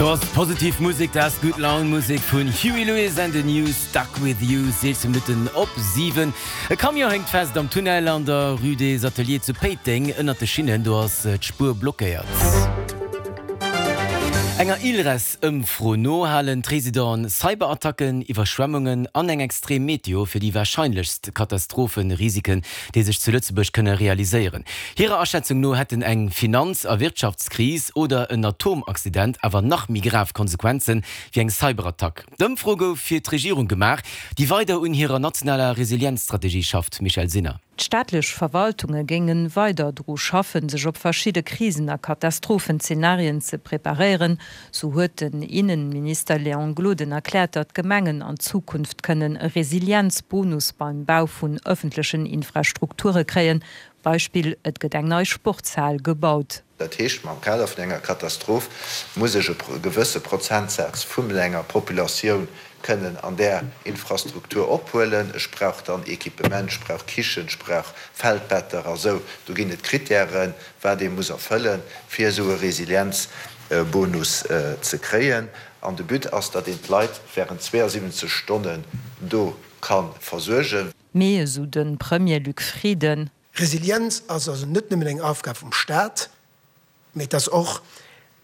Do ass positiv Musek, dat ass Gutt Laun Musek vun Huey Lewis and the News, Stuck With You, 16 Minutten op 7. E Camion héngt fest am Tunnel an der Rue des Ateliers zu Péiteng ënnert de Schinnen, do ass d'Spuer blockéiert. Enger ILRES-Ëmfro no halen d'Residenten Cyberattacken, Iwwerschwemmungen an eng extrem Meteo fir déi warscheinlechst Katastrophe-Risiken, déi sech zu Lëtzebuerg kënne realiséieren. Hirer Aschätzung no hätten eng Finanz a Wirtschaftskris oder en Atomaccident awer nach méi grav Konsequenze wéi eng Cyberattack. D'Ëmfro gouf fir d'Regierung gemaach, déi weider un hirer nationaler Resilienzstrategie schafft. Michèle Sinner. D'staatlech Verwaltunge géinge weider dru schaffen, sech op verschidde Krisen a Katastrophenzeenarien ze preparéieren. Sou huet den Innenminister Léon Gloden erkläert, datt d'Gemengen an Zukunft kënnen e Resilienzbonus beim Bau vun ëffentlechen Infrastrukture kréien. Beispill, Et gëtt eng nei Sportshal gebaut. Dat heescht, am Kader vun enger Katastroph muss ech e gewësse Prozentsaz vun enger Populatioun kënnen an där Infrastruktur ophuelen. Ech brauch dann Equipement, ech brauch Kichen, ech brauch Feldbetter a sou. Do ginn et Kritären, wat ee muss erfëllen, fir esou e Resilienzbonus ze kréien. An de But ass, datt een d'Leit während 72 Stonnen do ka versuergen. Mee, esou de Premier Luc Frieden. Resilienz ass also net nëmmen eng Aufgab vum Staat, mee et ass och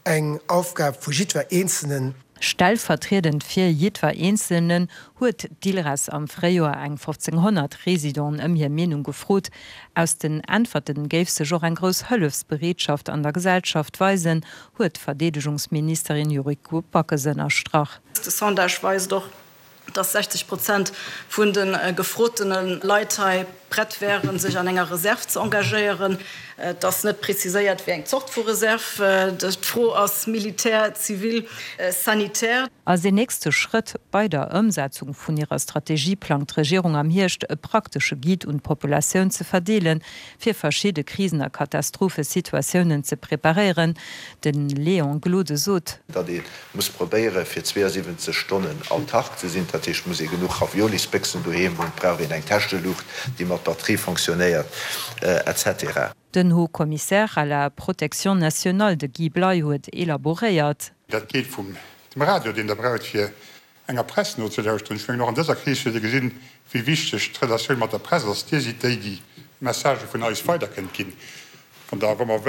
eng Aufgab vu jiddwer Eenzelnen. Stellvertriedend fir jiddwer Eenzelnen huet d'ILRES am Fréijoer eng 1.500 Residenten ëm hir Meenung gefrot. Aus den Äntwerte géif sech och eng grouss Hëllefsbereetschaft an der Gesellschaft weisen, huet d'Verdeedegungsministerin Yuriko Backes ënnerstrach. De Sondage weist och, dass 60 Prozent vun de gefrotene Leit hei prett wären, sech an enger Reserv ze engagéieren. Et ass net preziséiert, wéi eng Zort vu Reserv. D'Fro ass militär, zivil, sanitär. Als een nächste Schrëtt bei der Ëmsetzung vun hirer Strategie plangt d'Regierung am Hierscht e praktesche Guide un d'Populatioun ze verdeelen, fir verschidde Krisen a Katastrophesituatiounen ze preparéieren. De Léon Gloden sot. Datt ee muss probéieren, fir 72 Stonnen autark ze sinn. Dat heescht, et muss ee genuch Raviolisbéchsen doheem hunn, et brauch een eng Täscheluucht, déi mat Batterie fonctionnéiert, etc. Den Haut Commissaire à la protection nationale, de Guy Bley, huet elaboréiert. Dat geet vum dem Radio, deen Der braucht, fir enger Press nozelauschteren. Ech mengen, och an dëser Kris huet ee gesinn, wéi wichteg d'Relatioun mat der Press ass. Dir sidd déi, déi Messagë vun eis weider kënnt ginn. Wann Der, wa mer wëllen.